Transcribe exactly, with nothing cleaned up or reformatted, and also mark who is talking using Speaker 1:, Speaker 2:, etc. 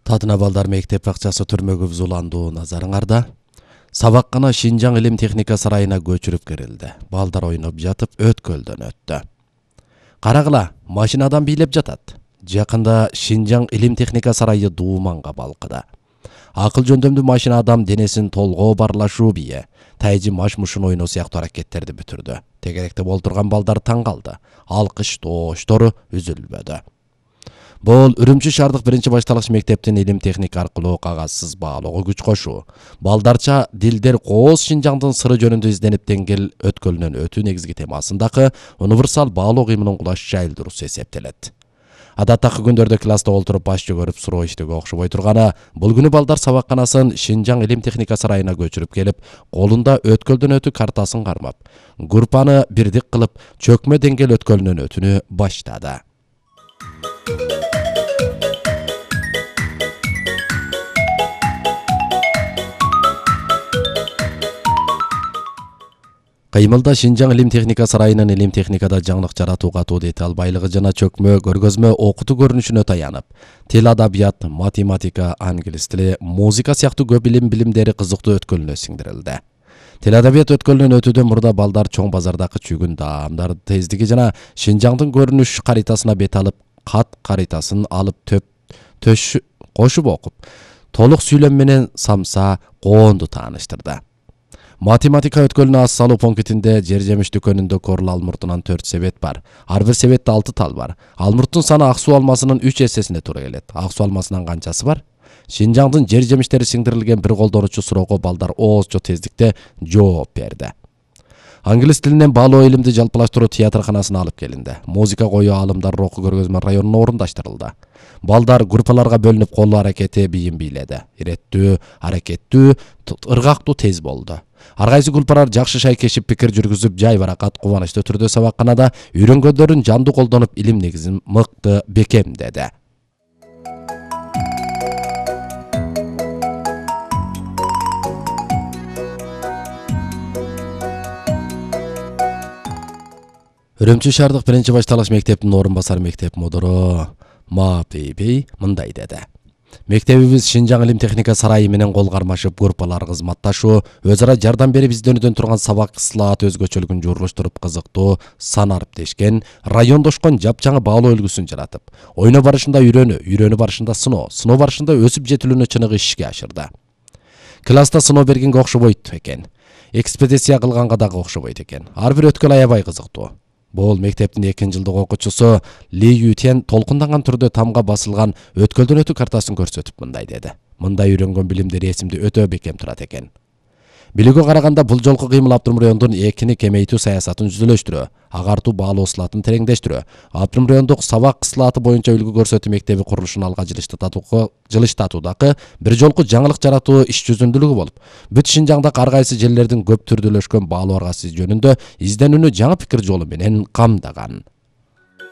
Speaker 1: Тадына балдар мектеп бакчасы түрмөгү бузуландуу назарыңарда. Сабаккана Шинжаң илим техника сарайына көчүрүп кирилди. Балдар ойноп жатып өткөлдөн өттү. Карагыла, машинадан бийлеп жатат. Жакында Шинжаң илим техника сарайы дууманга балкыды. Акыл жөндөмдүү машина адам денесин толгоо барлашуу бие, тайжы маш-мушун ойноо сыяктуу аракеттерди бүтүрдү. Тегеректе болтурган балдар таң калды. Алкыш тооштору үзүлбөдү. Бул Үрүмчү шаардык биринчи башталгыч мектептин илим техника аркылуу кагазсыз баалоого күч кошуу. Балдарча дилдер кооз Шинжаңдын сыры жөнүндө изденип деңгел өткөлүнөн өтүү негизги темасындагы универсал баалоо кыймынын кулаш жайылдыруусу эсептелет. Адаттагы күндөрдө класста олтуруп баш жөгөрүп суроо иштөөгө окшобой турганы, бул күнү балдар сабакканасын Шинжаң илим техника сарайына көчүрүп келип, колунда өткөлдөн өтүү картасын кармап, группаны бирдик кылып, чөкмө деңгел өткөлүнөн өтүүнү баштады. Кыймылда Шинжаң илим техника сарайынын илим техникада жаңылык жаратуу катуу дете албайлыгы жана чөкмө көргөзмө окутуу көрүнүшүнө таянып, тил, адабият, математика, англис тили, музыка сыяктуу көп илим билимдери кызыктуу өткөлүнө сиңдирилди. Тил, адабият өткөлүнөн өтүүдөн мурда балдар чоң базардагы чүгүн даамдардын тездиги жана Шинжаңдын көрүнүш каритасына бет алып, кат каритасын алып төп төш кошуп окуп, толук сүйлөм менен самса коонду тааныштырды. Математика өткөлүнө ас салуу пунктинде жер жемиш дүкөнүндө корл алмуртунан төрт себет бар. Ар бир себетте алты тал бар. Алмурттун саны ак суу алмасынын үч эсесине туура келет. Ак суу алмасынан канчасы бар? Шинжаңдын жер жемиштери сиңдирилген бир колдонуучу суроого балдар оозчо тездикте жооп берди. Англис тилинен баалоо илимди жалпылаштыруу театрканасына алып келинди. Музыка коюу аалымдар руху көргөзмө районуна орундаштырылды. Балдар группаларга бөлүнүп кол аракети бийин бийледи. Иреттүү, аракеттүү, ыргактуу тез болду. Ар кайсы группалар жакшы шайкешип пикир жүргүзүп, жай баракат кубанычтуу түрдө сабакканада үйрөнгөндөрүн жандуу колдонуп илим негизин мыкты бекемдеди. Үрүмчү шаардык биринчи башталгыч мектептин орун басар мектеп мудуру Ма Бейбей мындай деди. Мектебибиз Шинжаң илим техника сарайы менен кол кармашып, группалар кызматташуу, өз ара жардам берип изденүүдөн турган сабак ысылаат өзгөчөлүгүн жууруштуруп кызыктуу, санариптешкен, райондошкон жапжаңы баалоо үлгүсүн жаратып, ойноо барышында үйрөнүү, үйрөнүү барышында сыноо, сыноо барышында өсүп жетилүүнү чыныгы ишке ашырды. Класста сыноо бергенге окшобойт экен. Экспедиция кылганга дагы окшобойт экен. Ар бир өткөл аябай кызыктуу. Бул мектептин экинчи жылдык окуучусу Ли Ютен толкунданган түрдө тамга басылган өткөлдөн өтүү картасын көрсөтүп мындай деди. Мындай үйрөнгөн билимдери эсимде өтө бекем турат экен. Билүүгө караганда бул жолку кыймыл Абдымрыондун экини кемейтүү саясатын жүзөлөштүрүү, агартуу баалоо ысылатын тереңдештирүү, Абдымрыондук сабак ысылааты боюнча үлгү көрсөтүү мектеби курулушун алга жылыштатуудагы бир жолку жаңылык жаратуу иш жүзүндүүлүгү болуп, бүт Шинжаңдагы ар кайсы жерлердин көп түрдүүлөшкөн баалоо аргасы жөнүндө изденүүнү жаңы пикир жолу менен камдаган.